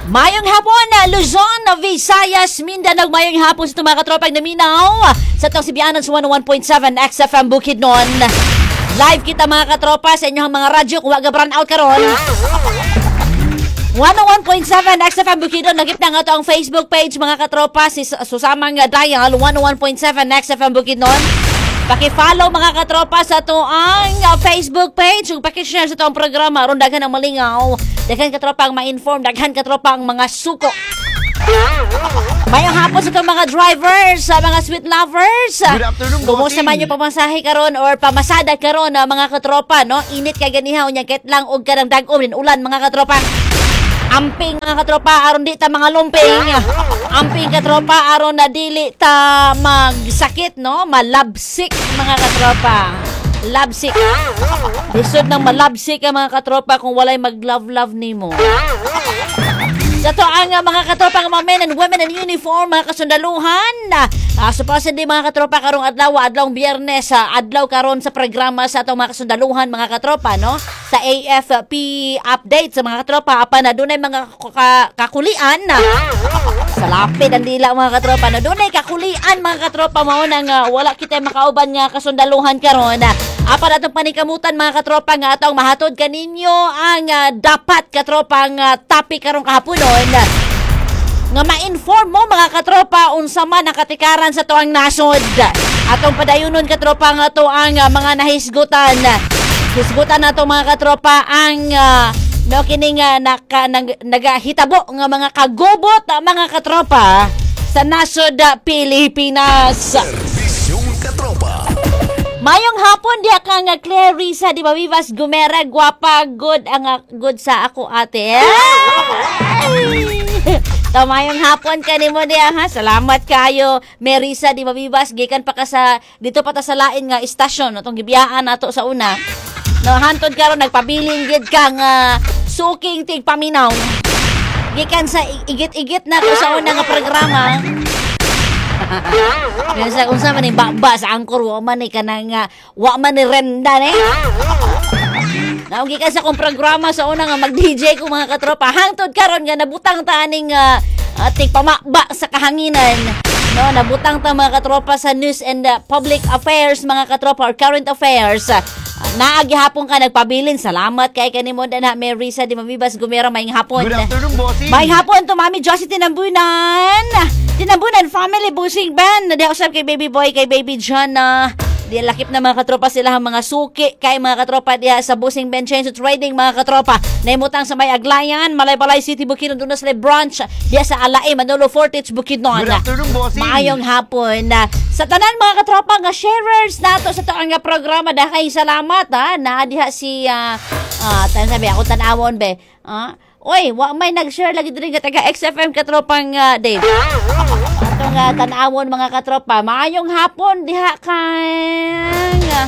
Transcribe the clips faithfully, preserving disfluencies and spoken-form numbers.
Mayong hapon, Luzon, Visayas, Mindanao. Mayong hapon sa itong mga katropang naminaw sa itong Sibianan sa one oh one point seven X F M Bukidnon. Live kita, mga katropa, sa inyong mga radyo kung wag brown out karon. one oh one point seven X F M Bukidnon, nagip na nga to ang Facebook page, mga katropa, si susamang dial one oh one point seven X F M Bukidnon. Paki-follow, mga katropa, sa to ang uh, Facebook page ug paki-share sa to ang programa aron daghan ang malingaw, daghan katropa ang ma-inform, daghan katropa ang mga suko. Mayong hapon sa itong mga drivers, sa mga sweet lovers. Good afternoon, Kumusta bossing. Man yung pamasahe karon or pamasada karon na mga katropa, no? Init kay ganiha, unya ket lang og kanang dag-om din ulan, mga katropa. Amping, mga katropa, aron di ta mga lumping. Amping, katropa, aron na dili ta magsakit, no? Malabsik, mga katropa. Labsik. Lisod nang malabsik ang mga katropa kung walay mag-love-love nimo. Sa to ang uh, mga katropa nga mga men and women in uniform, mga kasundaluhan. Uh, supposedly, mga katropa, karong adlaw, adlawng Biyernes, uh, adlaw karon sa programa sa atong mga kasundaluhan, mga katropa, no? Sa A F P update sa mga katropa, apan na dunay mga ka- kakulian sa lapid ang dila, mga katropa, no? Dunay kakulian, mga katropa, mao nang uh, wala kita makauban nga kasundaluhan karon. Apan atong panikamutan, mga katropa, nga atong mahatod kaninyo ang uh, dapat, katropa, nga topic karong kahaponon nga ma-inform mo, mga katropa, unsa man ang katikaran sa tuang nasod. Atong padayunon, katropa, nga to ang uh, mga nahisgutan. Hisgutan nato, mga katropa, ang uh, no kining uh, naka, nag, nagahitabo nga mga kagubot, uh, mga katropa, sa nasod uh, Pilipinas. Serbisyong Katropa. Mayong hapon diha ka nga Clarissa di ba Vivas Gumera, gwapa good ang ah, good sa ako, ate. Ay! Tamayong hapon kanimo diha, ha. Salamat kayo, Merisa di Mabibas, gikan pa ka sa dito pa ta sa lain nga istasyon, no, tong gibiyaan nato sa una. No, hantod karon nagpabilin gid ka nga suking tigpaminaw. Gikan sa igit-igit na ko sa una nga programa. Yan sa unsa man ni baba sa angkor, wa man ni kanang uh, wa man ni renda ni. Naong gikan sa akong programa sa una nga mag-D J ko, mga katropa, hangtod karon nga nabutang ta aning uh, uh, tigpamaba sa kahanginan. No, nabutang ta, mga katropa, sa news and uh, public affairs, mga katropa, or current affairs. Uh, naagihapon ka nagpabilin. Salamat kay kanimo na Marisa di Mabibas Gumera, maayong hapon. Good afternoon, bossing. Maayong hapon to Mami Josie Tinambunan. Tinambunan family Busing Band. Di usab kay Baby Boy, kay Baby John na di lakip na mga katropa sila ang mga suki kay mga katropa diha sa Busing Ben Chains Trading, mga katropa. Naimutang sa may Aglayan, Malaybalay City, Bukidnon, doon na sila branch diha sa Alae, Manolo Fortich, Bukidnon. Good afternoon, bossing. Maayong hapon. Sa tanan, mga katropa nga sharers nato sa to ang programa, dahil salamat ha na diha si ah uh, uh, sabi ako tan-awon be. Ah, oy, wa may nag-share lagi diri nga taga X F M, katropang uh, Dave. Atong uh, tan-awon, mga katropa. Maayong hapon diha kang ah,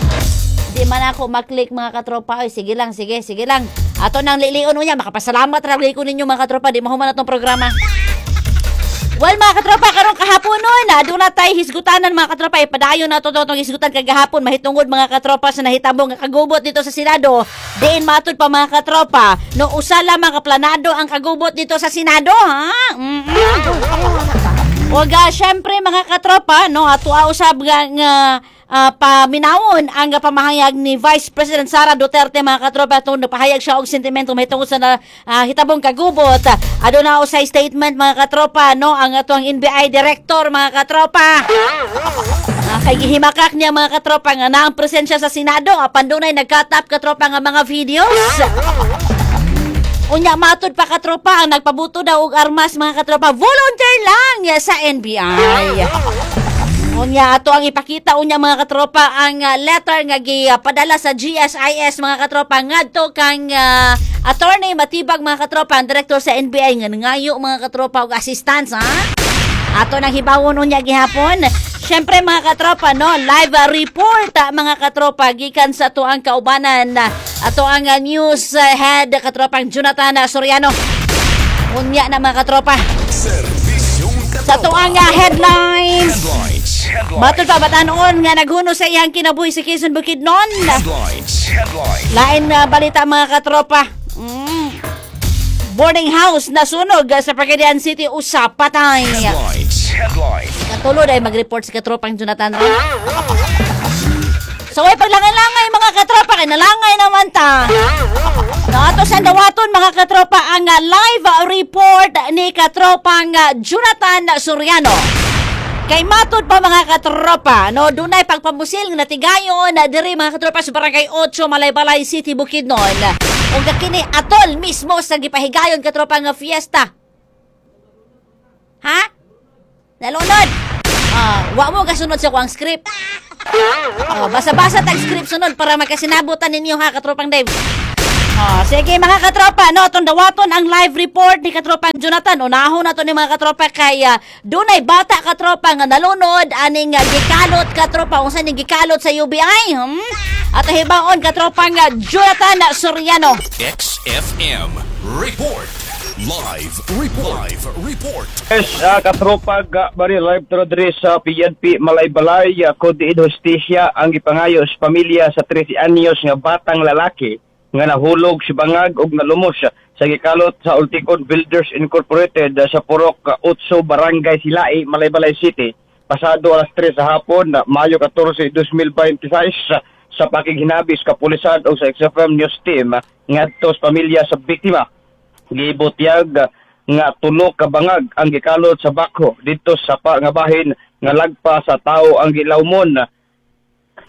di man ako maklik, mga katropa. Oy, sige lang, sige, sige lang. Ato nang lilion niya, makapasalamat ra ko ninyo, mga katropa, di mahuman atong programa. Well, mga katropa, karong kahaponon, na doon na tayo hisgutanan, mga katropa. Ipadayon na to itong hisgutan kagahapon mahitungod, mga katropa, sa nahitabo nga kagubot dito sa Senado. Diin matud pa, mga katropa, no usa lamang ka planado ang kagubot dito sa Senado, ha? Mm-mm. Og ah, syempre, mga katropa, no, ato usab nga, nga ah, paminawon ang pamahayag ni Vice President Sara Duterte, mga katropa, atong nagpahayag siya og sentimento mahitungod sa na, ah, hitabong kagubot. Aduna usay statement, mga katropa, no, ang atong N B I director, mga katropa. Ah, kay gihimakak niya, mga katropa, nga naang presensya sa Senado apan dunay nagkatap, katropa, nga mga videos. Unya matud pa, katropa, ang nagpabuto daw og armas, mga katropa, volunteer lang sa N B I. Unya ato ang ipakita unya, mga katropa, ang ah, letter nga gipadala sa G S I S, mga katropa, ngadto kang ah, Attorney Matibag, mga katropa, ang director sa N B I nga nangayo, mga katropa, og assistance, ha. Ato nang hibawon unya gihapon. Siyempre, mga katropa, no, live ah, report ah, mga katropa, gikan sa tuang kaubanan, ah, ato ang ah, news ah, head, katropang Jonathan ah, Soriano. Unya na, mga katropa. Serbisyong Sa Katropa. tuang ah, headlines. Headlines. Headlines. Matud pa, batanon nga naghuno sa iyang kinabuhi sa Quezon Bukidnon. Headlines. Headlines. Lain na balita, mga katropa. Mm. Boarding house nasunog sa Pagadian City, usa patay. Headlines. Headline. Katulod ay mag-report si katropang Jonathan Ray. So ay paglangay-langay, mga katropa, kay nalangay naman ta. No, ato sa dawaton, mga katropa, ang ah, live report ni katropang ah, Jonathan Soriano. Kay matud pa, mga katropa, no, dunay pagpamusil nga natigayon na diri, mga katropa, sa Barangay eight, Malaybalay City, Bukidnon. Ug kini atol mismo sa gipahigayon, katropa, nga fiesta. Ha? Nalunod. Ah, wa mo kasunod sa kuang script. Oh, basa-basa tag script sunod para makasinabutan ninyo ha, katropang Dave. Oh, sige, mga katropa, no, atong dawaton ang live report ni katropang Jonathan. Unahon na to ni mga katropa kay uh, dunay bata, katropa, nga nalunod aning uh, gikalot, katropa, unsa ning gikalot sa U B I? Hmm? At hibaon katropang uh, Jonathan Soriano. X F M Report. Live Report. Live Report. Yes, uh, katropa ga bari live to diri sa P N P Malaybalay, uh, Kodi Hustisya ang gipangayo sa pamilya sa thirteen anyos nga batang lalaki nga nahulog si bangag ug nalumos sa gikalot sa Ulticon Builders Incorporated uh, sa Purok uh, eight, Barangay Silai, Malaybalay City pasado alas tres sa hapon na Mayo fourteen, twenty twenty-six uh, sa pakighinabis kapulisan o sa X F M News Team uh, ngadto sa pamilya sa biktima. Gibutyag nga tulo ka bangag ang gikalot sa backhoe didto sa pa nga bahin nga lagpa sa tawo ang gilawmon.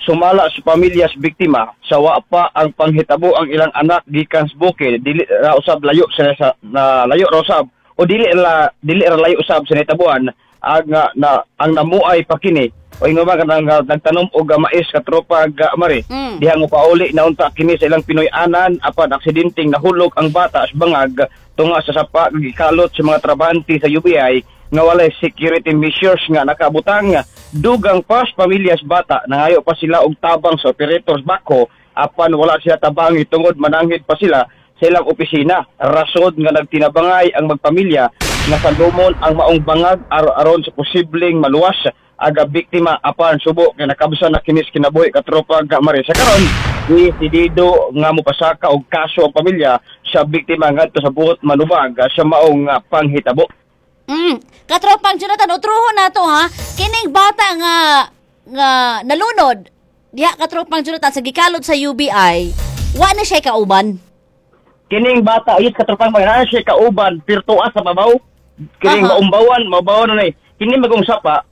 Sumala sa pamilya sa biktima sa wa pa ang panghitabo ang ilang anak gikan sa bukid, dili ra usab layo sa, sa na layo ra usab o dili la dili ra layo usab sa nahitabuan ang nga na ang namuay pa kini o ingon ba kanang nga nagtanom og mais, katropa ga mari. Mm. Diha nga pauli na unta kini sa ilang Pinoy-anan apan aksidenteng nahulog ang bata sa bangag tunga sa sapa gikalot sa mga trabahante sa U B I nga walay security measures nga nakabutang. Dugang pa sa pamilya sa bata, nangayo pa sila og tabang sa operators backhoe apan wala sila tabangi tungod mananghid pa sila sa ilang opisina. Rasod nga nagtinabangay ang magpamilya nga salumon ang maong bangag ar aron sa posibleng maluwas aga biktima apan subo kay nakabsa na kinis kinabuhi, katropa ga mare. Sa karon desidido nga mopasaka og kaso ang pamilya sa biktima ngadto sa buot manubag sa maong ah, panghitabo. Mm. Katropang Jonathan, utruhon na to ha. Kining bata nga nga nalunod diha, katropang Jonathan, sa gikalot sa U B I, wa na siya kauban? Kining bata ayos, katropang, mga siya kauban pirtua sa babaw kining Aha. maumbawan maumbawan na ni kini magong sapa.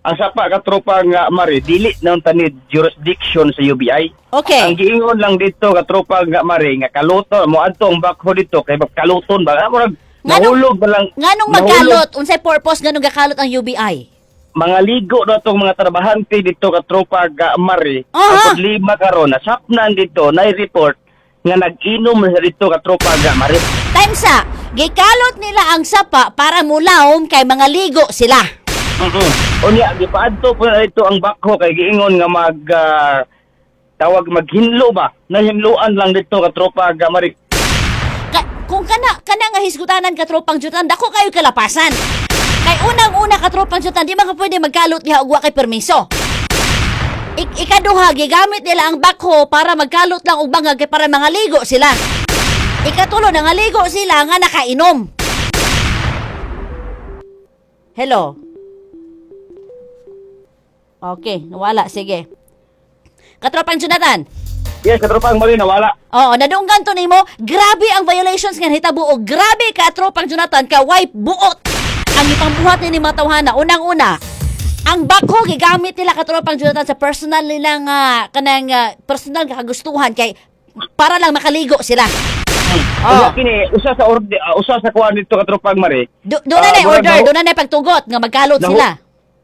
Ang sapa, katropa nga mare, dili na tanid jurisdiction sa U B I. Okay. Ang giingon lang dito, katropa nga mare, nga kaluto mo adto ang backhoe dito kay kaluton ba, ah, murag Nganong- nahulog ba lang. Nganong nahulog. magkalot? Unsay purpose nganong gakalot ang U B I? Mga ligo na itong mga trabahante dito, katropa ga mare. Aha. Ang problema karon, nasapnan dito na report nga nag-inom na dito, katropa ga mare. Time sa gikalot nila ang sapa para mulawom kay mga ligo sila. Mm-mm. Unya gipaadto po na dito ang backhoe kay giingon nga mag ah, tawag maghinlo ba, nahinloan lang dito, katropa ga mare. Ka- kung kana kana nga hisgutanan, katropang Jonathan, dako kayo kalapasan. Kay unang-una, katropang Jonathan, di man ka pwede magkalot diha og wa kay permiso. Ik ikaduha, gigamit nila ang backhoe para magkalot lang og bangag kay para mga ligo sila. Ikatulo, nangaligo sila nga nakainom. Hello. Okay, nawala. Sige. Katropang Jonathan. Yes, katropang mare, nawala. Oo, nadunggan to nimo. Grabe ang violations nga nahitabo o grabe, katropang Jonathan, ka way buot ang ipambuhat ni mga tawhana. Unang-una, ang backhoe gigamit nila, katropang Jonathan, sa personal nilang uh, kanang ah, personal nga kagustuhan kay para lang makaligo sila. Oh. Oh. Kini usa sa orde, ah, usa sa kuan dito, katropang mare. Do, doon na Ah, na murag order, nahu- doon na na pagtugot nga magkalot Nahu- sila.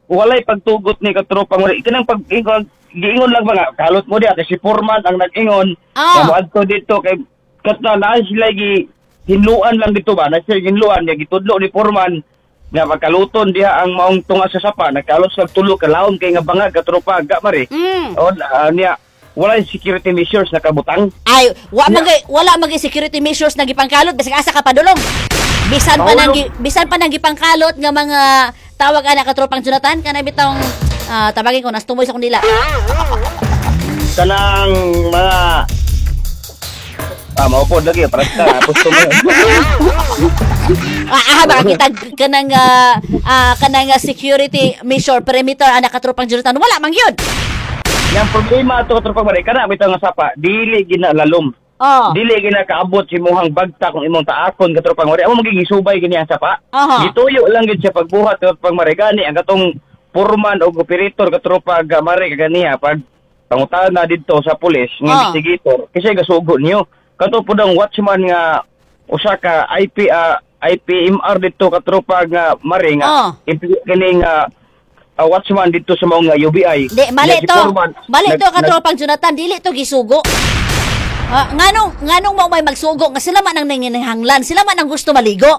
Walay pagtugot ni katropang mare. Kanang pag ingon, giingon lang mga kalot mo diha kasi foreman ang nag-ingon Ah. nga moadto dito kay katna na sila gi hinluan lang dito ba, na sila hinluan nga gitudlo ni foreman nga magkaluton diha ang maong tunga sa sapa. Nagkalot sa tulo ka lawom kay nga bangag, katropa ga mare. Mm. O ah, niya walay security measures na kabutang. Ay, wa man gay- wala man gay security measures na gipangkalot bisag asa ka padulong. Bisan pa nang Mahulog. bisan pa nang gipangkalot nga mga tawag ana, katropang Jonathan, kanay bitong ah, tabagin ko, nastumoy sa kundila. Kanang mga ah mao pod lagi para sa gusto mo. Ah, ah makakita kanang ah, ah, kanang ah, security measure perimeter ana, katropang Jonathan, wala man yun. Yang problema ato, katropang Mare, kana bitaw nga sapa, dili ginalalom. Oh. Dili gina kaabot si imong bagta kung imong taakon, katropang Mare. Amo magiging subay gini ang sapa. Aha. Gituyo lang gid siya pagbuhat, katropang Mare. Gani ang katong foreman o operator, katropang Mare, kaganiha pag pangutana didto sa pulis nga Ah. investigator kasi gasugo niyo. Kato pud ang watchman nga usa ka I P ah, I P M R didto, katropa nga Mare, nga Ah. impli- kining ah, ah, watchman didto sa maong nga U B I. Di, mali Nga si to. foreman, Mali nag- to, katropang Jonathan, dili to gisugo. Ah, nganong nganong mao may magsugo nga sila man ang nanginahanglan, sila man ang gusto maligo?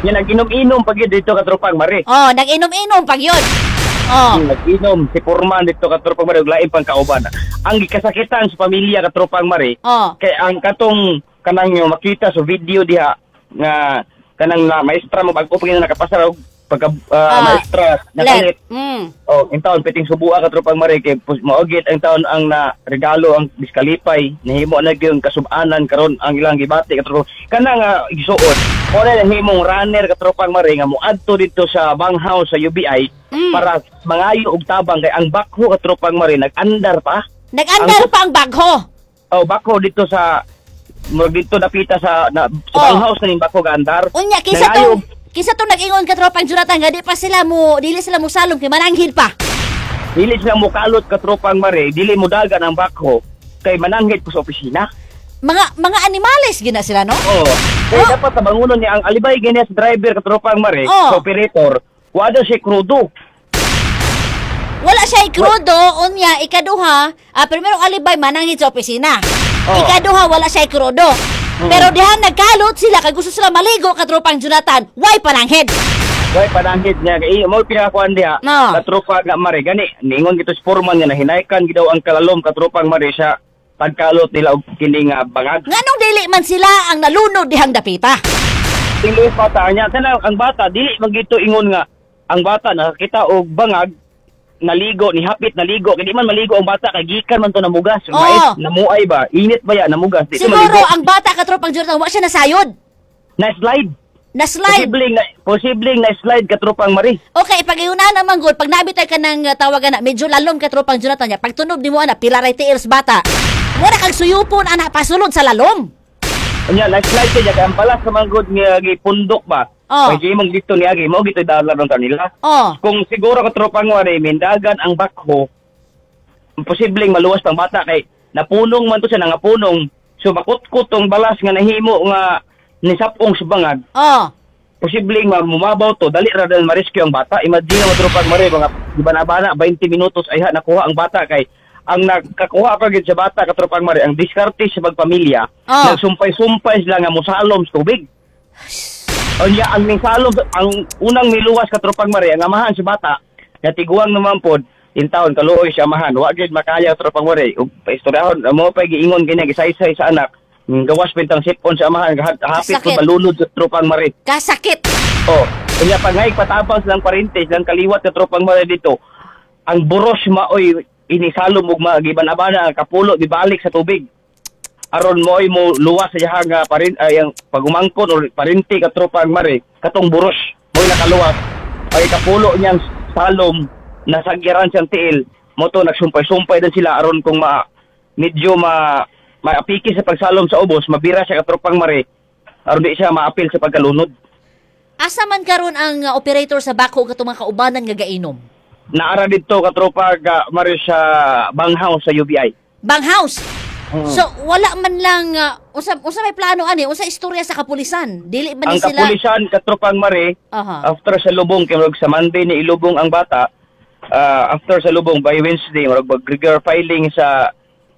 Nga nag-inom-inom pag yun dito, katropang Mare. Oh, nag-inom-inom pag yun. Oh. Nag-inom si foreman dito, katropang Mare, ug lain pang kauban. Ang gikasakitan sa pamilya, katropang Mare, Oh. kay ang katong kanang yung makita sa video diha nga kanang na maestra mo bag-o pa gyud nakapasar og pagka ah, Ah, maestra nakalit. Mm. Oh, in taon piting subua, katropang Mare, kay pus- maogit ang taon ang na regalo ang diskalipay nahimo na gyud kasubanan karon ang ilang gibati, katropang kana nga igsuon mo na nahimong runner, katropang Mare, nga moadto didto sa banghouse sa U B I Mm. para mangayo og tabang kay ang backhoe, katropang Mare, nag-andar pa. Nag-andar Ang- pa ang backhoe. Oh, backhoe dito sa murag dito napita sa na, sa Oh. banghouse na ning backhoe gaandar. Unya kinsa Nangayo tong kinsa tong nag-ingon, katropang Jonathan, nga di pa sila mo dili sila mo salom kay mananghid pa? Dili sila mukalot, katropang Mare, dili mo dagan ang backhoe kay mananghid ko sa opisina. Mga mga animales gina sila, no? Oo. Kaya Oh. dapat tabangunon niya ang alibay gini sa driver, katropang Mare, Oh. sa operator, wala siya krudo. Wala siya ikrudo, unya ikaduha, ah, primerong alibay mananghid sa opisina. Oh. Ikaduha, wala siya ikrudo. Pero diha nagkalot sila kay gusto sila maligo, katropang Jonathan, why pananghid? Way pananghid niya kay mo pinakakuan diha. No. Katropa nga Mare, gani ningon gito sa foreman nga nahinaykan gid daw ang kalalom, katropang Mare, sa pagkalot nila og kini nga bangag. Nganong dili man sila ang nalunod dihang dapita? Tiluoy bata niya kana ang bata dili man gito ingon nga ang bata nakakita og bangag naligo ni hapit naligo kay di man maligo ang bata kay gikan man to namugas. Oo. Mais namuay ba, init ba ya namugas, di to Siguro maligo. ang bata, katropang Jonathan, wa siya nasayod. Na slide. Na slide. Posibleng na posibleng na slide, katropang Mare. Okay, pag iuna naman gud, pag nabitay ka ng uh, tawagan na medyo lalom, katropang Jonathan niya, pag tunob nimo ana, pila ray tiils bata. Wala kang suyupon ana pasulod sa lalom. Unya na slide siya kay ang balas sa manggod nga gipundok ba. Oo. Kay imong dito niagi mo gito dala ron kanila. Oh. Kung siguro, katropang Mare, mindagan ang backhoe, posibleng maluwas pang bata kay napunong man to siya, nangapunong, so makutkot tong balas nga nahimo nga nisapong sa bangag. Oh. Posibleng mamumabaw to, dali ra dahil ma-rescue ang bata. Imagine mo, tropang Mare, mga bana-bana twenty minutos ay ha nakuha ang bata kay ang nakakuha pa gid sa bata, katropang Mare, ang diskarte sa magpamilya, Oh. nagsumpay-sumpay sila nga mosalom sa tubig. Unya ang misalom, ang unang miluwas, katropang Mare, ang amahan sa bata. Natiguang naman pod in taon, kaluoy siya amahan, wa gyud makaya, tropang Mare. Ug paistoryahon mo pa giingon kanya gisaysay sa anak. Mm, gawas pintang sipon sa amahan, hapit Sakit. pud malunod sa tropang Mare. Kasakit. Oh, unya pangay patabang silang parente, silang kaliwat, katropang Mare, dito. Ang buros maoy inisalom ug magiban-abana ang kapulo dibalik sa tubig. Aron mo'y mo luwas sa iyang nga parin ay ang pagumangkon or parente, katropang Mare, katong buros mo'y nakaluwas. Ay kapulo niyang salom nasagyaran siyang tiil. Mo to nagsumpay-sumpay din sila aron kung ma medyo ma maapiki sa pagsalom sa ubos, mabira siya, katropang Mare. Aron di siya maapil sa pagkalunod. Asa man karon ang uh, operator sa backhoe katong mga kaubanan nga gainom? Naara dito, katropa ga Mare, sa banghouse sa U B I. Banghouse. Mm. So wala man lang uh, unsa unsa may plano ani, unsa istorya sa kapulisan? Dili man Ang ni sila kapulisan, katropang Mare, Aha. after sa lubong kay murag sa Monday ni ilubong ang bata, ah, after sa lubong by Wednesday murag mag regular filing sa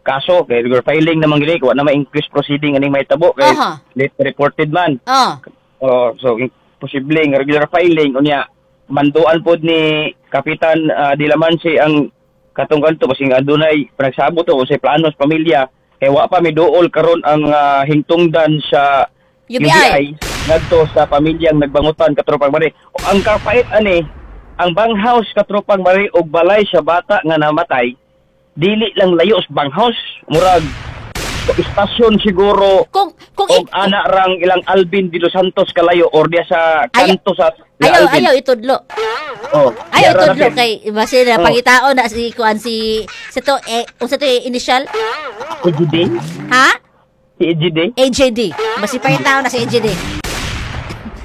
kaso kay regular filing naman gini, wa na ma-inquest proceeding aning mahitabo kay Aha. late reported man. Ah. Oh, so posibleng regular filing, unya manduan pod ni Kapitan uh, Dilamansi ang katong kanto kasi nga adunay panagsabot o sa plano sa pamilya kay wa pa miduol karon ang ah, hingtungdan sa U B I. ngadto sa pamilyang nagbangutan, katropang Mare. Ang kapait ani, ang banghouse, katropang Mare, og balay sa bata nga namatay dili lang layo sa banghouse, murag Istasyon siguro Kung kung og ik- ana rang ilang Alvin de los Santos kalayo or diya sa Ayaw- kanto sa ila ayaw Alvin. Ayaw itudlo. Oh, Ayaw diya ra itudlo napin. kay base na Oh. pangitaon na si kuan, si si to eh unsa to eh, initial? E G D? Ha? Si E G D? A J D. Basi pangitaon na si A J D.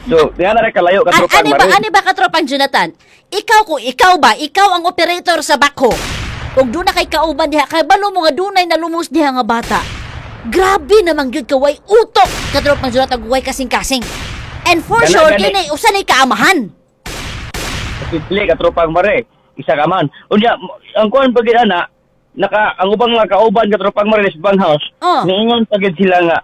So, diya na rin kalayo An katropang ani ba Mare. Ani ba, katropang Jonathan? Ikaw, kung ikaw ba, ikaw ang operator sa backhoe. Ug duna kay kauban diha, kay balo mo nga dunay nalumos diha nga bata. Grabe naman gyud ka way utok, katropang Jonathan, way kasing-kasing. And for Gana- sure gani. kini usa ni kaamahan. Simple katropang Mare. Isa ka man. Unya, ang kuan pag ana, naka ang ubang mga kauban, katropang Mare, sa banghouse, Oh. niingon pagid sila nga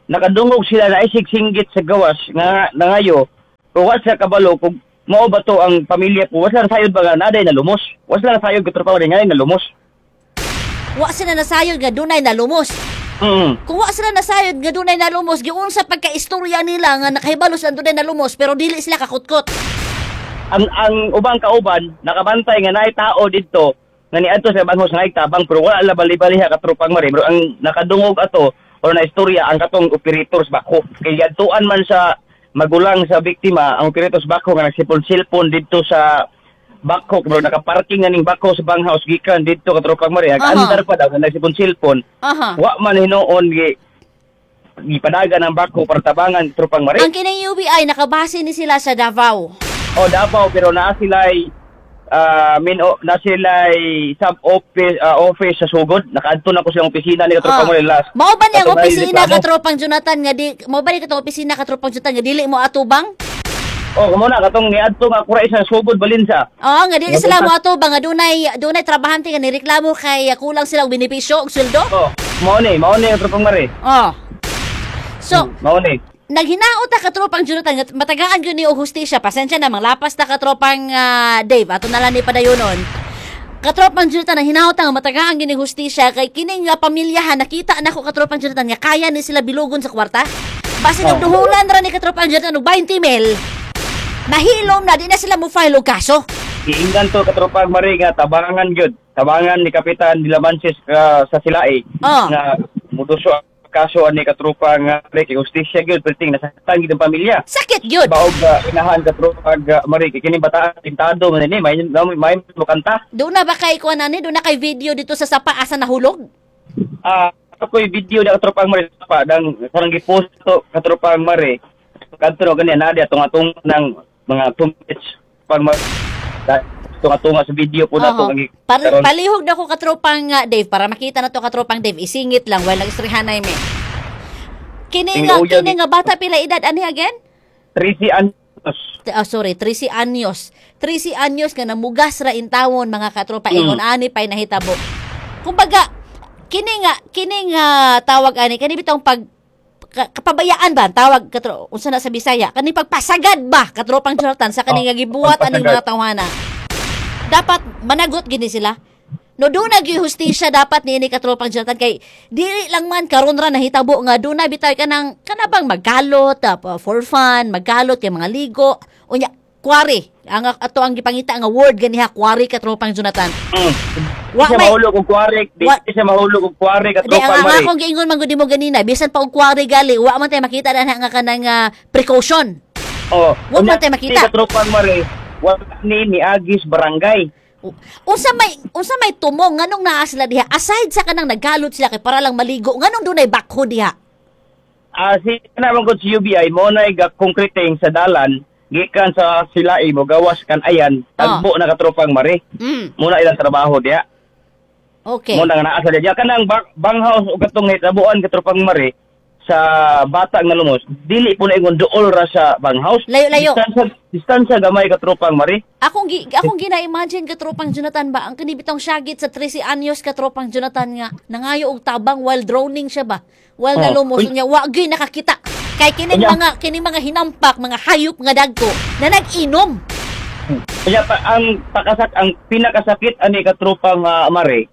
nakadungog sila na isig singgit sa gawas nga nangayo. Pero wa sila kabalo kung mao ba to ang pamilya ko. Wa sila nasayod ba nga naday na lumos. Wa sila nasayod, katropang Mare, nga na lumos. Wa sila nasayod nga dunay nalumos. Mm. Kung wa sila nasayod nga dunay nalumos, giunsa pagkaistorya nila nga nakahibalo sila dunay nalumos pero dili sila kakutkot? Ang ang ubang kauban nakabantay nga naay tao didto nga niadto sa banghouse nga tabang, pero wala la bali-baliha, katropang Mare. Pero ang nakadungog ato or na istorya ang katong operator sa backhoe kay adtuan man sa magulang sa biktima ang operator sa backhoe nga nagsipon-silpon didto sa backhoe, pero nakaparking na ning backhoe sa banghouse gikan didto, katropang Mare. Aha. Andar pa daw nga nagsipon-silpon. Aha. Wa man hinuon gi gipadagan ang backhoe para tabangan, tropang Mare. Ang kining U B I nakabase ni sila sa Davao. O Davao, pero naa sila'y ah min o, na sila'y sub office, ah, office sa Sugod. Nakaadto na ko silang opisina ni katropang Ah. Mare last. Mao ba niyang Katong opisina, reklamo. katropang Jonathan, nga di mao ba ni katong opisina, katropang Jonathan, nga dili mo atubang? Oh, kumo na katong niadto nga kuray sa Sugod Balinsa. Oo, nga dili Nga sila punta. mo atubang nga dunay dunay trabahante nga nireklamo kay kulang sila og benepisyo og sweldo? Oh, mao ni, mao ni, katropang Mare. Oh. So, Mao ni. Naghinaot ta, katropang Jonathan, nga matagaan gyud ni og hustisya. Pasensya na, manglapas ta, katropang ah, Dave. Ato na lang ni padayonon. Katropang Jonathan, nahinaot ta nga matagaan gyud ni hustisya kay kining nga pamilyahan, nakita nako, katropang Jonathan, nga kaya ni sila bilugon sa kwarta. Basin og Oh. duhulan ra ni katropang Jonathan og twenty mil. Mahilom na, di na sila mo file og kaso. Giingnan to, katropang Mare, nga tabangan gyud. Tabangan ni Kapitan Dilamansis ah, sa Silai Oh. nga muduso ang kaso ani, katropang Mare, kay hustisya gyud perting nasaktan gyud ang pamilya. Sakit gyud. Baog uh, inahan, katropang uh, Mare, kay kining bataan pintado man ni may may, may mo kanta. Doon na ba kay kuan ani? Doon na kay video dito sa sapa asa nahulog? Ah, ako'y video na, katropang Mare, pa dang sarang gipost to, katropang Mare. Kadto no ganyan na dia tunga-tunga ng mga two minutes pag ma tunga-tunga sa video po na to Oho. ang gi- Par- karon. palihog na ko, katropang uh, Dave, para makita na to, katropang Dave. Isingit lang while nagistoryahan mi. Kini nga Tingnan kini nga bata, pila edad ani again? thirty anyos. T- ah, sorry, thirteen anyos. thirteen anyos nga namugas ra intawon, mga katropa, Mm. ingon ani pay nahitabo. Kumbaga kini nga kini nga tawag ani kani bitong pag ka- kapabayaan ba ang tawag, katro unsa na sa Bisaya kani, pagpasagad ba, katropang Jonathan, sa kani Oh, nga gibuhat aning pagpasagad. mga tawhana, dapat managot gini sila no. Doon na gyud hustisya dapat niini, katropang Jonathan, kay dili lang man karon ra nahitabo nga doon na bitay kanang kanabang magkalot uh, for fun, magkalot kay mga ligo unya quarry ang ato ang gipangita nga word ganiha, quarry, katropang Jonathan. Mm. Wa Di siya may- mahulog og quarry, di Wa- siya mahulog og quarry, Di, ang, katropang ang Mare. akong giingon man gud nimo ganina, bisan pa og quarry gali, wa man tay makita na nga kanang ah, precaution. Oh, Wa man unya, tay makita. di, katropang Mare, wa ni niagis barangay. Unsa may unsa may tumong nganong naa sila diha aside sa kanang nagkalot sila kay para lang maligo, nganong dunay backhoe diha? Ah, si naman ko si U B I mo na ga concreting sa dalan gikan sa Silai mo gawas kan ayan tagbo na, katropang Mare. Mm. Muna ilang trabaho diya. Okay. Mo na nga naa sa diya kanang bang, banghouse ug katong nahitabuan, katropang Mare, sa bata nga lumos, dili po na ingon duol ra sa banghouse. Layo-layo. Distansya, distansya gamay, katropang Mare. Akong gi, akong gina-imagine, katropang Jonathan ba, ang kanibitong syagit sa thirteen anyos, katropang Jonathan, nga nangayo og tabang while drowning siya ba. While Oh. nalumos Uy. niya wa gyud nakakita. Kay kining Unya. mga kining mga hinampak, mga hayop nga dagko na nag-inom. Kaya pa, ang pakasak ang pinakasakit ani, katropang uh, Mare,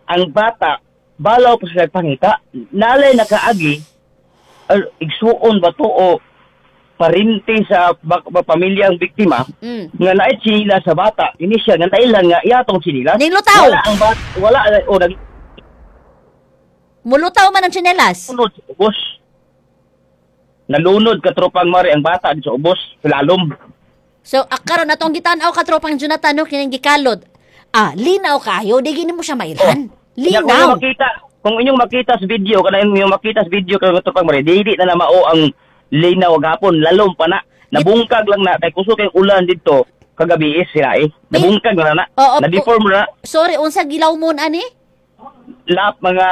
ang bata balaw pa sila pangita, nalay nakaagi uh, igsuon ba to o parinti sa bak, ba, pamilya ang biktima Mm. nga naay tsinilas sa bata ini siya nga nailan nga iyatong tsinilas. Nilutaw. Wala ang bata, wala o nag Mulutaw man ang tsinelas. Nalunod sa ubos. Nalunod, katropang Mari, ang bata sa ubos, lalom. So, ah, karon atong gitan-aw, katropang Jonathan, no, kining gikalot. Ah, linaw kayo, di gini mo siya mailhan. Kaya kung Linaw. inyong makita, kung inyong makita sa video, kana inyong makita sa video kay katropang Mari, dili na na mao ang linaw gapon, lalom pa na. Nabungkag lang na kay kusog kay ulan didto kagabi is sila eh. Nabungkag na na. Oo, Na-deform na. Sorry, unsa gilaw mo ani? Lap mga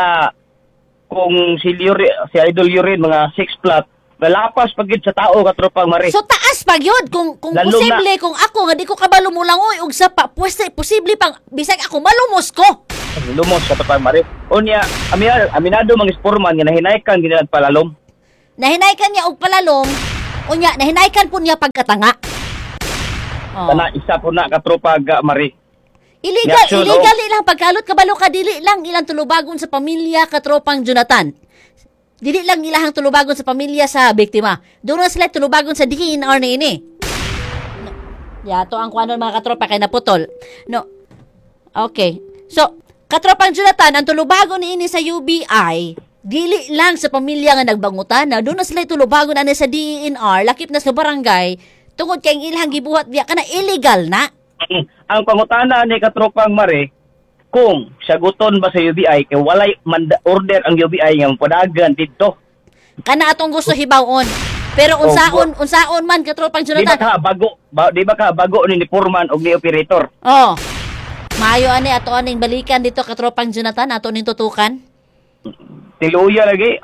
kung si Yuri, si Idol Yurin mga six flat, nalapas pagid sa tao, katropang Mari. So taas pa gyud kung kung Lalom posible kung ako nga di ko kabalo mo langoy og sapa, pwes posible pang bisag ako malumos ko. Lumos, katropang Mari. Unya, aminado, aminado mga sporman nga nahinaykan ginilan palalom. Nahinaykan niya og palalom, unya nahinaykan po niya pagkatanga. Oh. Kana isa po na, katropa ga Mari. Illegal, Reaction, illegal ilang pagkalot, kabalo ka, dili lang ilang tulubagon sa pamilya, katropang Jonathan. Dili lang ilahang tulubagon sa pamilya sa biktima. Doon na sila tulubagon sa D E N R ni ini. No. Yato ang kuanon, mga katropa, kay naputol. No. Okay. So, katropang Jonathan, ang tulubagon ni ini sa U B I, dili lang sa pamilya nga nagbangutan na doon na sila tulubagon ani sa D E N R, lakip na sa barangay, tungod kay ang ilang gibuhat biya kana illegal na. Ang pangutana ni katropang Mari, kung saguton ba sa U B I kay walay manda order ang U B I nga padagan didto. Kana atong gusto hibaw-on. Pero unsaon, unsaon man, katropang Di ba Jonathan. ka bago ba, di ba ka bago ni ni foreman og ni operator? Oh. Maayo ani ato aning balikan dito, katropang Jonathan, ato ning tutukan. Tiluya lagi.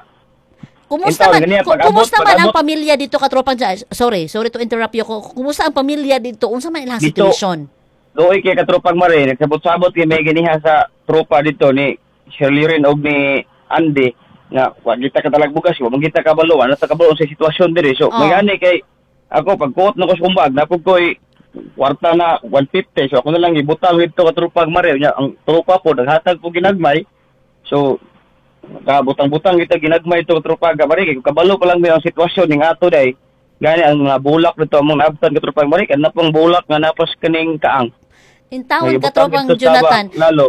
Kumusta Intaw, man ganyan, ku- pag-abot, kumusta man ang pag-abot. pamilya dito, katropang Jonathan? Sorry, sorry to interrupt you. Kumusta ang pamilya dito? Unsa man ilang Dito. situation? Doy kay katropang Mari, nagsabot-sabot kay may ganiha sa tropa dito ni Shirley rin og ni Andy nga wa kita katalag bugas, wa man kita kabalo, ano ta kabalo sa sitwasyon diri. So, Oh. may gani kay ako pagkuot na ko sa kumbag, napog ko'y kwarta na one fifty. So ako na lang ibutang dito, katropang Mari. Nya ang tropa po naghatag po ginagmay. So kabutang-butang kita ginagmay ito, katropang Mari, kay kabalo pa lang mi ang sitwasyon ning ato day. Gani ang mga bulak dito among naabtan, katropang Mari, kana pong bulak nga napas kaning kaang. Intawon, Nagibutang katropang dito sa Jonathan, ba- lalo.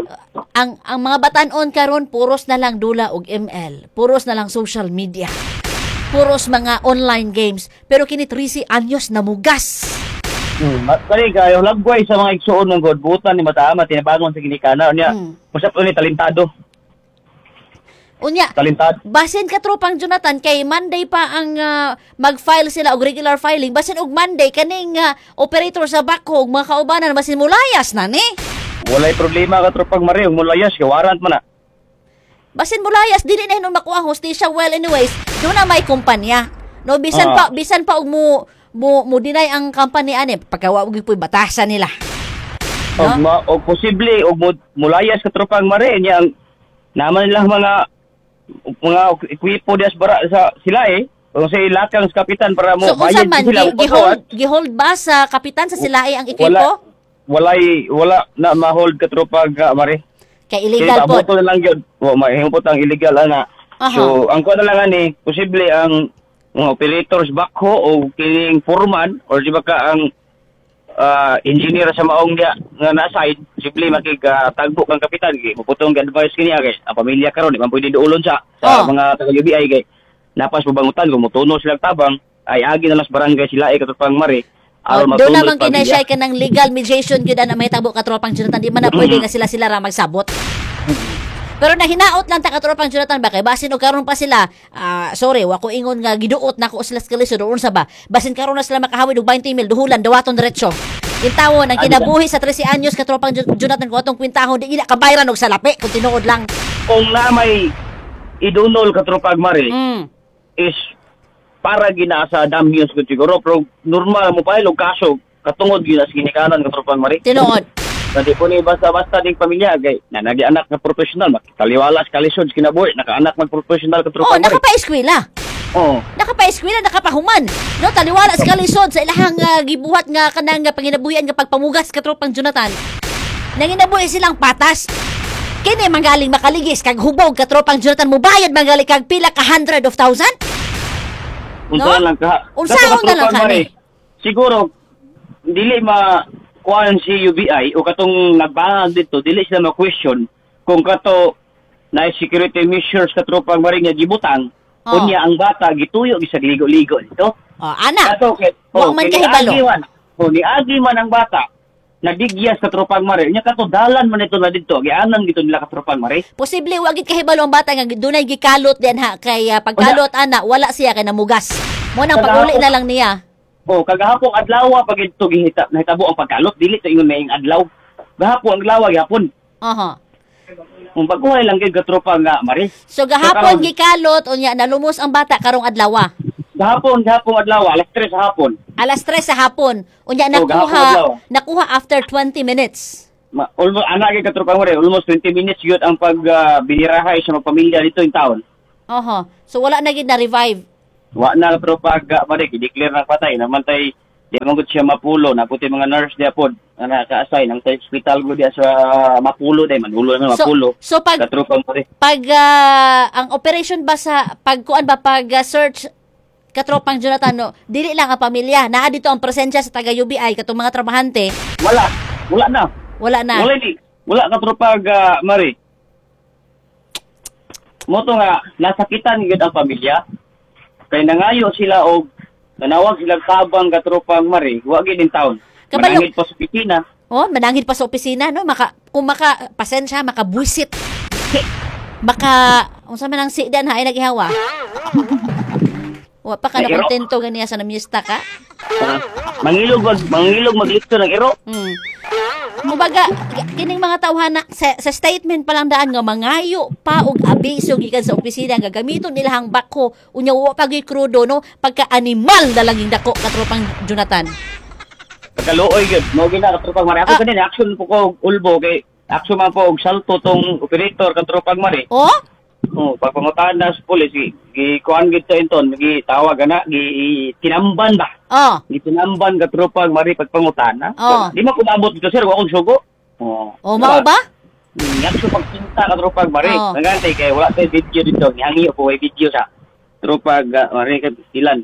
ang ang mga batan-on karon puros na lang dula og M L, puros na lang social media. Puros mga online games, pero kini thirteen anyos na mugas. Hmm, kani kayo lagway sa mga igsuon ng God butan ni mataama tinabangon sa ginikana niya. Hmm. Usap ni talentado, Unya, talentado. basin, katropang Jonathan, kay Monday pa ang ah, mag-file sila og regular filing. Basin og Monday kaning ah, operator sa backhoe ug mga kaubanan basin mulayas na ni. Walay problema, katropang Mari, ug mulayas kay warrant man na. Basin mulayas, dili na hinon makuha ang hustisya. Well, anyways, doon na may kumpanya. No, bisan Ah. pa bisan pa og mo mo mo deny ang company ani pagka wa og batasan nila. No? Og ma og posible og mo, mulayas, katropang Mari, niya ang naman nilang mga mga ekwipo dias bara sa sila eh. Kung sa ilakang sa kapitan para mo So unsa bayad man sila gi- mo gihold gihold ba sa kapitan sa silae ang Wala ekipo? walay wala na ma-hold, katropang Mari. Kay illegal Kaya pod. abuto na lang yun. O, mahimot ang illegal ana. Aha. So, ang kuha na lang ani, posible ang mga operators backhoe o kining foreman or di ba ka ang ah, engineer sa maong niya nga na-side, posible makikatagbo kang kapitan kay muputong advice kaniya kay ang pamilya karon di man pwede duulon sa sa Oh. mga taga U B I kay napas pabangutan kung motuno silang tabang ay agi na lang sa barangay sila ay katropang Mari Oh, aron doon matuno naman sa pamilya. kinay siya kanang legal mediation gyud ana mahitabo, katropang Jonathan. Di man na pwede nga sila sila ra magsabot. Pero nahinaot lang ta, katropang Jonathan, ba kay basin og karon pa sila, ah, sorry, wa ko ingon nga giduot nako sila sa kalisod or unsa ba. Basin karon na sila makahawid og twenty mil, duhulan dawaton diretso. Intawon ang kinabuhi sa thirteen anyos, katropang Jo- Jonathan, kung atong kwintahon di gina kabayran og salapi kung tinuod lang. Kung na may idunol, katropang Mari, Mm. is para gina sa damyos ko siguro, pero normal mo pa og kaso katungod gina sa ginikanan, katropang Mari. Tinuod. Na di po ni basta-basta ding pamilya kay na nagi anak nga professional makitaliwala sa kalisod sa kinabuhi nakaanak mag professional, Oh, katropang Mari. nakapa-eskwela. Oh. Nakapa-eskwela, nakapahuman. No, taliwala sa kalisod sa ilahang ah, gibuhat nga kanang uh, panginabuhian nga pagpamugas, katropang Jonathan. Nanginabuhi silang patas. Kini manggaling makaligis kag hubog, katropang Jonathan, mubayad manggaling kag pila ka hundred of thousand? Unsa No? lang ka. Unsaon na lang Katropang ka Mari, ni? siguro dili ma kuan si U B I o katong nagbangag dito, dili sila ma-question kung kato Na security measures, katropang Mari, nga gibutang. Oh. Unya ang bata gituyo gisag ligo-ligo dito. Oh, ana. Kato kay Wa man kay kahibalo. niagi man. Oh, niagi man ang bata. Nadigyas, katropang Mari. Nya kato dalan man ito na dito. Gianan gito nila, katropang Mari. Posible wa gid kahibalo ang bata nga dunay gikalot din ha kay ah, pagkalot ana wala siya kay namugas. Mo nang pag-uli na lang niya. Oh, kagahapon adlaw pag ito gihita nahitabo ang pagkalot, dili to ingon maing adlaw. Gahapon ang adlaw gyapon. Aha. Kung baguhay lang gyud, katropa nga Mari. So gahapon So, karon- gikalot unya nalumos ang bata karong adlaw. Gahapon, gahapon adlaw, alas tres sa hapon. Alas tres sa hapon. Unya Oh, gahapon nakuha adlaw. nakuha after twenty minutes. Ma, almost ana gyud, katropa Mari, almost twenty minutes gyud ang pag ah, binirahay sa mga pamilya dito in town. Oho. So wala na gid na revive. Wa na, katropa ga Mari, gideclare na patay namantay di man gud siya mapulo na puti mga nurse diya pod nga naka-assign ang sa hospital gud diya sa Mapulo day manulo na So Mapulo. so pag Katropa Mari. pag ah, ang operation ba sa pagkuan ba, pag ah, search, katropang Jonathan, no, dili lang ang pamilya naa dito, ang presensya sa taga U B I, katong mga trabahante? Wala, wala na. Wala na. Wala ni. Wala, katropa ga Mari. Mo to nga nasakitan gyud ang pamilya. Kay nangayo sila og nanawag sila tabang, katropang Mari, wa gyud in town. Kabalo- Manangit pa sa opisina. Oh, manangit pa sa opisina, no, maka kung maka pasensya, makabuisit, maka unsa man ang sidan ha ay nagihawa. Wa pa ka na Nairo. kontento ganiya sa namista ka. Ah, mangilog mag mangilog maglipto ng iro. Hmm. Kumbaga, kining mga tawhana sa, sa statement pa lang daan nga mangayo pa og abiso gikan sa opisina nga gamiton nila ang backhoe unya wa pa gyud krudo, no, pagka animal na lang yung dako, katropang Jonathan. Pagkaluoy gyud mo gina, katropang Mari. Ako Ah. ganin action po ko og ulbo kay action man po og salto tong operator, katropang Mari. Oh? Oh, pagpangutan na sa pulis, gi, gi kuan gid to inton, gi tawag ana, gi tinamban ba? Oh. Gitinamban, katropang Mari, pagpangutana. Oo. Di man kumabot dito, sir, wa akong sugo. Oh. Oh, mao ba? Nga so pagpinta, katropang Mari. Oo. Nagantay kay wala tay video dito, gihangi po way video sa tropag uh, Mari kay ilan.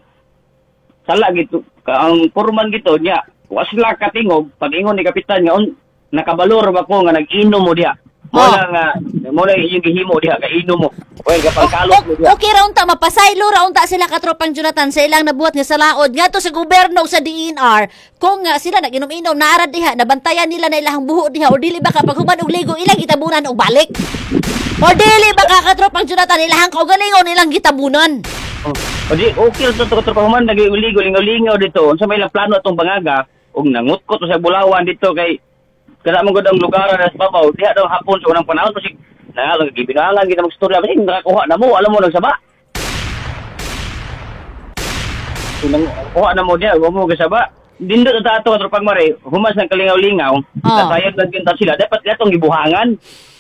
Sala gito ka ang foreman gito niya. Wa sila katingog pag ingon ni kapitan nga un, nakabalor ba ko nga nag-inom mo diha. Mo Oo. na nga mo na iyong gihimo diha ka inom mo. Well, kapag kalot mo diha. Okay ra unta mapasaylo ra unta sila, katropang Jonathan, sa ilang nabuhat nga salaod ngadto sa gobyerno ug sa D E N R kung nga sila nag-inom-inom naara diha, nabantayan nila na ilahang buho diha, o dili ba kapag human og ligo ilang gitabunan og balik, o dili ba ka, katropang Jonathan, ilahang kaugalingon ilang gitabunan? Oh. O di okay to to katropa human nag-uligo lingaw-lingaw dito. Unsa may ilang plano atong bangaga ug nangutkot sa bulawan dito kay kada man gud ang lugar na sa babaw diha daw hapon sa unang panahon kasi na gibinangan kita magstorya kasi nakakuha na mo, alam mo nagsaba. Kung nakakuha na mo diha, wa mo gasaba. Dindot ta ato, katropang Mare, humas ng kalingaw-lingaw, Oh. nasayag lang gyud ta sila. Dapat latong gibuhangan.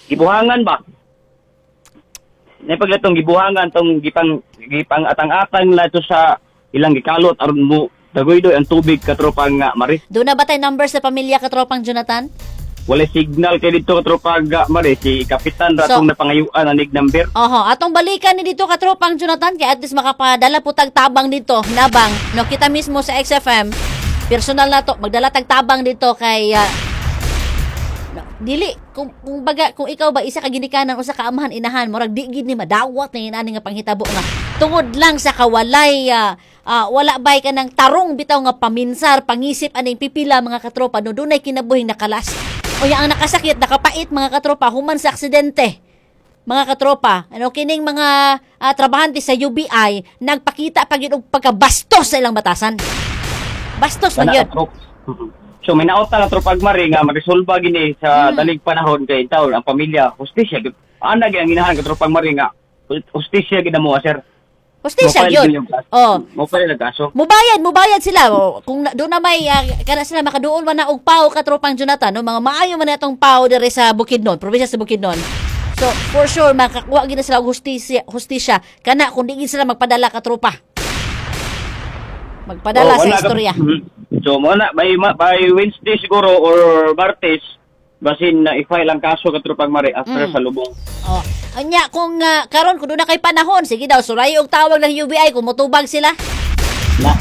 Gibuhangan ba? Napag latong gibuhangan tong gipang gipang atang-atang la to sa ilang gikalot aron mo daguydoy ang tubig, katropang nga Mari. Doon na ba tay number sa pamilya, katropang Jonathan? Wala signal kay dito, katropang nga Mari, si kapitan So- ratong napangayuan anig number. Oho, atong balikan ni dito, katropang Jonathan, kay at least makapadala po tag tabang dito, nabang. No, kita mismo sa X F M, personal na to, magdala tag tabang dito kay ah, no, dili kung kung baga kung ikaw ba isa ka ginikanan usa ka amahan inahan, murag di gid ni madawat na inani nga panghitabo nga tungod lang sa kawalay ah, ah, wala bay kanang tarong bitaw nga paminsar pangisip aning pipila mga katropa, no, dunay kinabuhing nakalas. Unya ang nakasakit, nakapait, mga katropa, human sa aksidente, mga katropa, ano kining mga ah, trabahante sa U B I nagpakita pa gyud og pagkabastos sa ilang batasan. Bastos man Kana, yun. katrop. So may naota nga, tropag Mari, nga maresolba gini sa Hmm. dalig panahon kay taon ang pamilya hustisya gyud. Ana gyud ang ginahan, katropag Mari, nga hustisya gid mo, sir. Hustisya Mo-file yun. gyud yung kaso. Oh. Mo file ang kaso. Mubayad, mubayad sila. O, kung na, doon na may ah, kana sila makaduol man na og paw, katropang Jonathan, no, mga maayo man na itong paw diri sa Bukidnon, probinsya sa Bukidnon. So, for sure makakuha gid na sila og hustisya, hustisya kana kung di gid sila magpadala, katropa. Magpadala Oh, sa wala ka- istorya. Mhm. So mo na by ma- by Wednesday siguro or Martes basin na i-file ang kaso, katropang Mari, after Mm. sa lubong. Oh. Anya kung ah, karon kung doon na kay panahon, sige daw sulay og tawag ng U B I kung motubag sila. Na.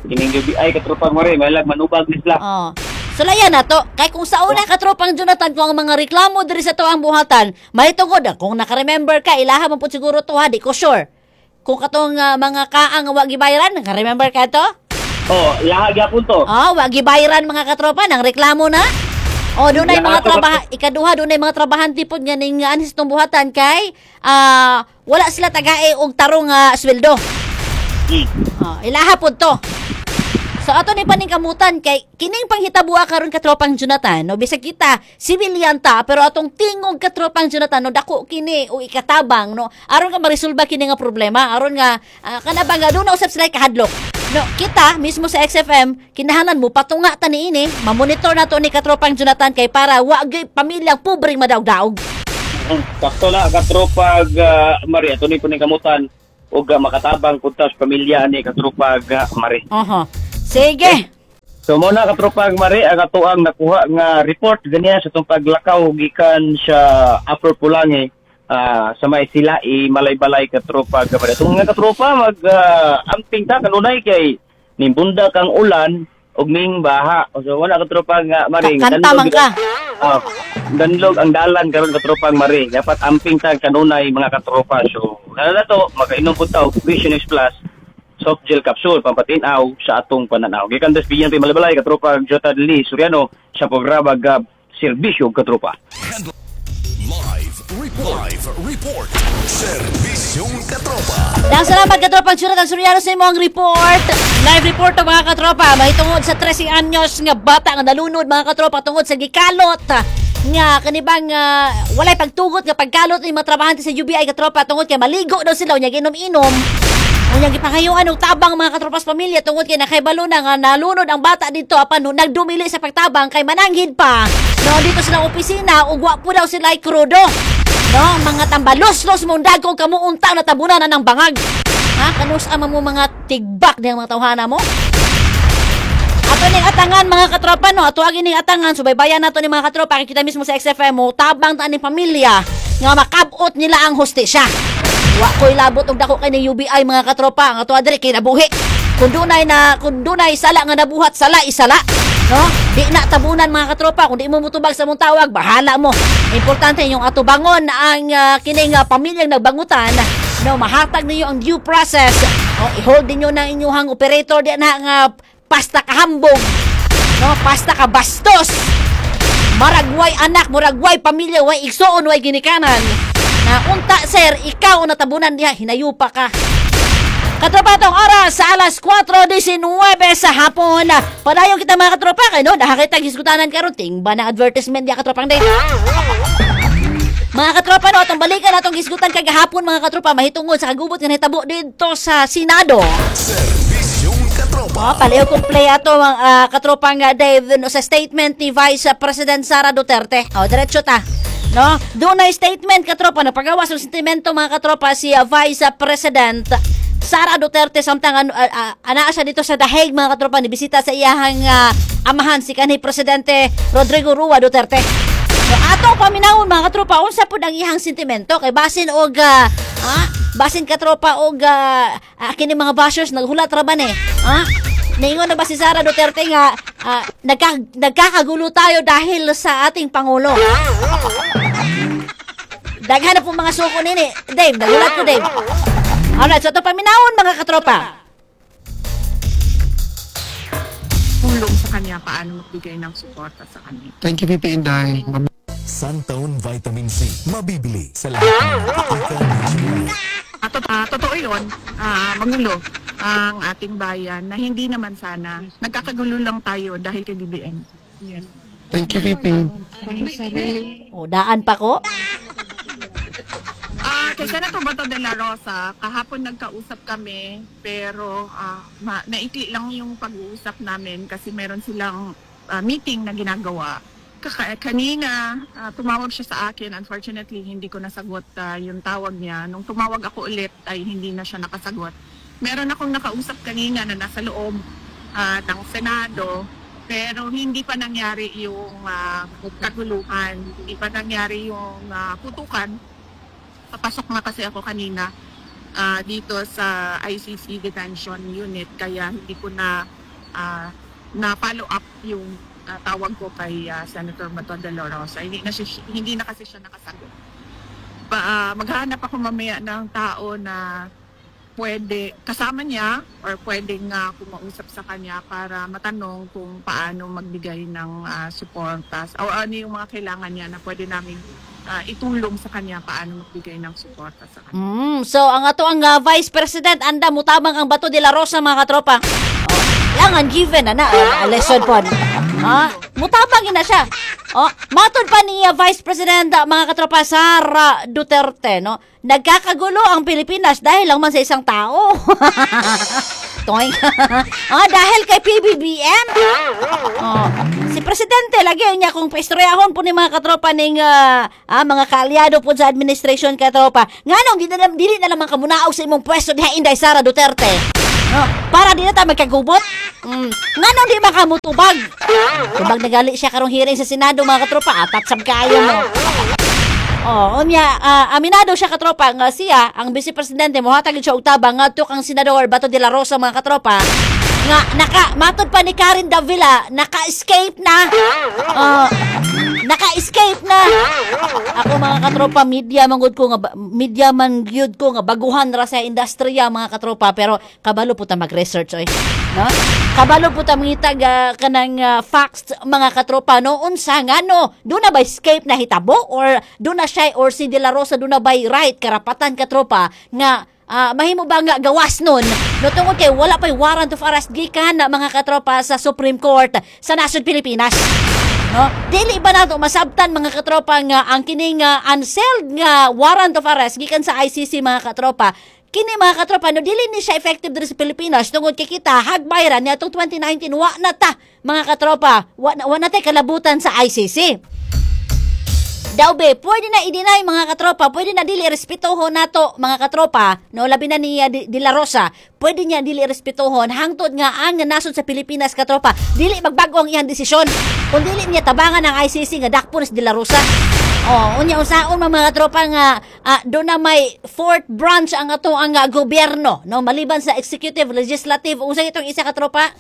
Kining U B I, katropang Mari, may lag manubag ni sila. Oh. Sulayan na to. Kay kung sa una, katropang Jonathan, kung ang mga reklamo diri sa tuang buhatan, may tungod, kung naka-remember ka, ilaha man po siguro to ha, di ko sure. Kung katong ah, mga kaang wa gibayaran, naka-remember ka to? Oh, laha gyapon to. Oh, wa gibayaran, mga katropa, nang reklamo na. Oh, dunay mga trabaha, ikaduha, dunay mga trabahante pod nga ning anis tong buhatan kay ah, wala sila tagae og tarong nga sweldo. Hmm. Oh, ilaha pod to. So ato ni paningkamutan kay kining panghitabuha karon, katropang Jonathan, no, bisag kita civilian ta, pero atong tingog, katropang Jonathan, no, dako kini o ikatabang, no, aron nga maresolba kini nga problema, aron nga uh, kana ba nga duna usab sila kahadlok. No, kita mismo sa X F M kinahanglan mo patunga ta niini, mamonitor nato ni katropang Jonathan kay para wa gyud pamilyang pobreng madaog-daog. Hmm, Sakto na, katropag uh, Maria, ato ni paningkamutan ug uh, makatabang pud ta sa pamilya ni katropag uh, Mari. Oho. Sige. So mo na, katropag Mari, ang atoang nakuha nga report ganiya sa itong paglakaw gikan sa Upper Pulangi ah, sa may sila i Malaybalay, katropag Mari. Itong nga katropa mag ah, amping ta kanunay kay nimbunda kang ulan ug ning baha. So wala, katropa nga Mari. Ka- kanta man ka. Ah, danlog ang dalan karon, katropang Mari. Dapat amping ta kanunay, mga katropa. So na to makainom pud ta og Vision X Plus soft gel capsule pampatinaw sa atong pananaw. Gikan des P N P Malaybalay, katropa Jota Lee Soriano sa programa Gab Serbisyo Katropa. Live Report. Live Report. Serbisyong Katropa. Dahil salamat, katropang Jonathan Soriano, sa imong report. Live report to, mga katropa. Mahitungod sa thirteen anyos nga bata nga nalunod, mga katropa, tungod sa gikalot nga kanibang uh, walay pagtugot nga pagkalot ni mga trabahante sa U B I, katropa, tungod kay maligo daw sila unya ginom-inom. Unya gipangayuan og tabang, mga katropa, sa pamilya tungod kay nakaibalo na nga nalunod ang bata dito apan nagdumili sa pagtabang kay mananghid pa. No, dito sa opisina ug wa po daw sila krudo. No, mga tambalos-los mong dagko kamo unta natabunan na ng bangag. Ha, kanus ama mo mga tigbak diyang mga tawhana mo? Ato ning atangan, mga katropa, no, ato agi ning atangan, subaybayan nato ni mga katropa kay kita mismo sa X F M mo tabang ta ning pamilya nga makabot nila ang hustisya. Wa ko'y labot og dako kay ni U B I, mga katropa, ang ato diri kinabuhi. Kung dunay na kung dunay sala nga nabuhat, sala isala. No? Di na tabunan, mga katropa, kung di mo mutubag sa mong tawag, bahala mo. Importante yung atubangon ang uh, kining uh, pamilyang nagbangutan, no, mahatag ninyo ang due process. No, i-hold ninyo na inyong operator di na nga pasta kahambog. No, pasta ka bastos. Maragway anak, muragway pamilya, way igsuon, way ginikanan. Na unta sir, ikaw ang natabunan diha, hinayupa ka. Katropa, itong oras sa alas kwatro labing walo sa hapon. Padayon kita, mga katropa, kay no, dahil kita giskutanan karon tingba na advertisement diha, katropang day. Mga katropa, no, atong balikan atong gisgutan kagahapon, mga katropa, mahitungod sa kagubot nga nahitabo didto sa Senado. Serbisyong Katropa. Oh, paliw kong play ato mga uh, katropang uh, Dave, no, sa statement ni Vice President Sara Duterte. Oh, diretso ta. No? Doon na statement, katropa, no, pagawas ng sentimento, mga katropa, si uh, Vice President Sara Duterte samtang ano uh, uh, anaa siya dito sa The Hague, mga katropa, ni bisita sa iyahang uh, amahan, si kanhi Presidente Rodrigo Rua Duterte. So atong paminawon, mga katropa, unsa pud ang iyang sentimento kay basin og uh, ah, basin, katropa, og uh, uh, kini mga bashers naghulat ra ba ni? Ah? Niingon na ba si Sara Duterte nga ah, nagka, nagkakagulo tayo dahil sa ating pangulo? Daghan na po mga suko nini. Dave, nagulat ko, Dave. Alright, so ito paminawon, mga katropa. Tulong sa kanya paano magbigay ng suporta sa kanya. Thank you, V P Inday. Santone Vitamin C. Mabibili sa lahat ng apotika nationwide. At to- ah, totoo yun, ah, magulo ang ating bayan na hindi naman sana. Nagkakagulo lang tayo dahil kay B B M. Thank you, V P. O, daan pa ko. Ah, kay Senator Bato de la Rosa, kahapon nagkausap kami pero ah, ma- naikli lang yung pag-uusap namin kasi meron silang ah, meeting na ginagawa. Kaka- kanina, ah, tumawag siya sa akin. Unfortunately, hindi ko nasagot ah, yung tawag niya. Nung tumawag ako ulit ay hindi na siya nakasagot. Meron akong nakausap kanina na nasa loob ah, ng Senado pero hindi pa nangyari yung ah, kaguluhan, hindi pa nangyari yung ah, putukan. Papasok nga kasi ako kanina ah, dito sa I C C detention unit kaya hindi ko na ah, na follow up yung ah, tawag ko kay ah, Senator Bato de la Rosa. Hindi na, siya, hindi na kasi siya nakasagot. Pa, ah, maghahanap ako mamaya ng tao na pwede kasama niya or pwedeng uh, kumausap sa kanya para matanong kung paano magbigay ng uh, suporta o ano yung mga kailangan niya na pwede namin ah, itulong sa kanya paano magbigay ng suporta sa kanya. Mm, so ang ato ang uh, Vice President anda mutabang ang Bato de la Rosa, mga katropa. Oh, langan given na na uh, lesson pod. Ah, mutabang na siya. Oh, matod pa ni uh, Vice President uh, mga katropa, Sara Duterte, no? Nagkakagulo ang Pilipinas dahil lang man sa isang tao. Toy. Ah, dahil kay P B B M. Oh, si presidente lagi niya kung paistoryahon po ni mga katropa ning ah, ah, mga kaalyado po sa administration, katropa. Nganong di na dili na naman kamunaog sa imong pwesto diha, Inday Sara Duterte? No, para di na ta magkagubot. Mm. Nganong di makamutubag? Tubag nagali siya karong hearing sa Senado, mga katropa, atat sab kayo mo. Oh, unya ah, aminado siya, katropa, nga siya ang vice presidente mohatag siya og tabang ngadto kang Senador Bato de la Rosa, mga katropa, nga naka matod pa ni Karen Davila, naka-escape na. Oh, naka-escape na. Ako, mga katropa, media man gud ko nga ba- media man gyud ko nga baguhan ra sa industriya, mga katropa, pero kabalo po ta mag-research oy. No? Kabalo po ta mangitag ah, kanang ah, facts, mga katropa, no, unsa ngano duna ba escape na hitabo or duna siya or si De La Rosa duna ba right karapatan, katropa, nga ah, mahimo ba nga gawas nun, no, tungod kay wala pa'y warrant of arrest gikan na, mga katropa, sa Supreme Court sa nasod Pilipinas, no? Dili ba nato masabtan, mga katropa, nga ang kining uh, unsealed nga warrant of arrest gikan sa I C C, mga katropa, kini, mga katropa, no, dili ni siya effective diri sa Pilipinas tungod kay kita hagbay ra niadtong twenty nineteen, wa na ta, mga katropa, wa na, wa na tay kalabutan sa I C C. Daw be, pwede na i-deny, mga katropa, pwede na dili respetuhon nato, mga katropa, no, labi na ni uh, De, De La Rosa, pwede niya dili respetuhon hangtod nga ang nasod sa Pilipinas, katropa, dili magbago ang iyang desisyon. Kung dili niya tabangan ang I C C nga dakpon si De La Rosa. Oh, unya unsaon man, mga katropa, nga uh, do na may fourth branch ang ato ang uh, gobyerno, no, maliban sa executive, legislative, unsa itong isa, katropa?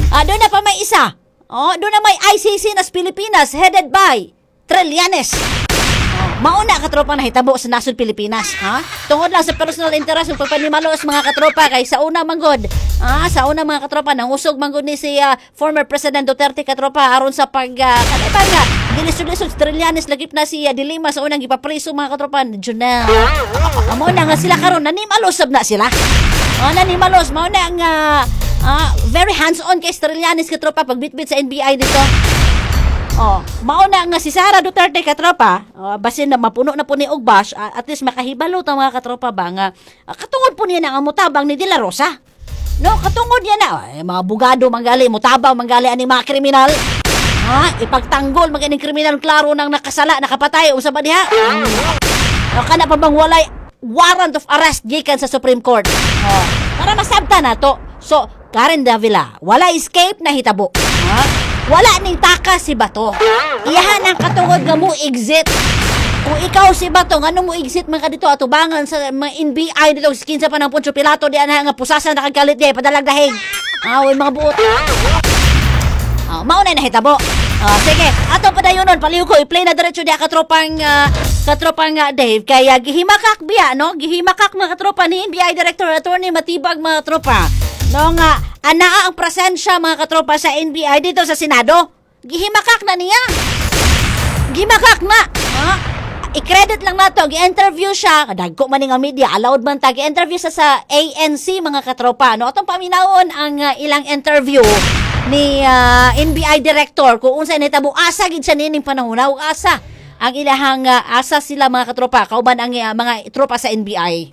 Ah, doon na pa may isa. Oh, doon na may I C C nas Pilipinas headed by Trillanes. Oh, mauna, katropa, nahitabo sa nasod Pilipinas, ha? Tungod lang sa personal interest ug pagpanimalos, mga katropa, kay sa una manggod, ah, sa una, mga katropa, nangusog manggod ni si ah, former President Duterte, katropa, aron sa pag uh, kanay nga gilisod-lisod si Trillanes, lagip na si uh, De Lima sa unang gipapriso, mga katropa, Junel. Ah, mao na nga sila karon nanimalos sab na sila. Ah, nanimalos mao na nga ah, very hands-on kay Trillanes, katropa, pagbitbit sa N B I dito. Oh, mao na nga si Sara Duterte, katropa, oh, basin na mapuno na po ni og bash, ah, at least makahibalo ta, mga katropa ba, nga ah, katungod po niya na ang mutabang ni De La Rosa. No, katungod niya na ay, mga abogado manggali mutabang manggali ani mga kriminal. Ha, ipagtanggol mga ining kriminal klaro nang nakasala, nakapatay unsa ba diha? Mm. No, kana pa bang walay warrant of arrest gikan sa Supreme Court? Oh, para masabta na to. So, Karen Davila, wala escape na hitabo. Ha? Wala ning takas si Bato. Iyahan ang katungod nga mo exit. Kung ikaw si Bato, ngano mo exit man ka dito atubangan sa mga N B I dito kinsa pa ng Poncio Pilato di ana nga pusasan na kag kalit di padalag dahig. Ah, mga buot. Ah, mao na nahitabo. Ah, sige, ato padayonon palihog ko i-play na diretso diha katropang ah, katropang ah, Dave kaya gihimakak biya, no? Gihimakak, mga katropa, ni N B I Director Attorney Matibag, mga katropa. No nga anaa ang presensya, mga katropa, sa N B I dito sa Senado. Gihimakak na niya. Gimakak na. Ha? I-credit lang nato, gi-interview siya, dagko man ni nga media, allowed man ta, gi-interview siya sa A N C, mga katropa. No, atong paminawon ang ah, ilang interview ni ah, N B I director kung unsa nahitabo, asa gid siya nining panahon, ug asa ang ilahang ah, asa sila, mga katropa, kauban ang ah, mga tropa sa N B I.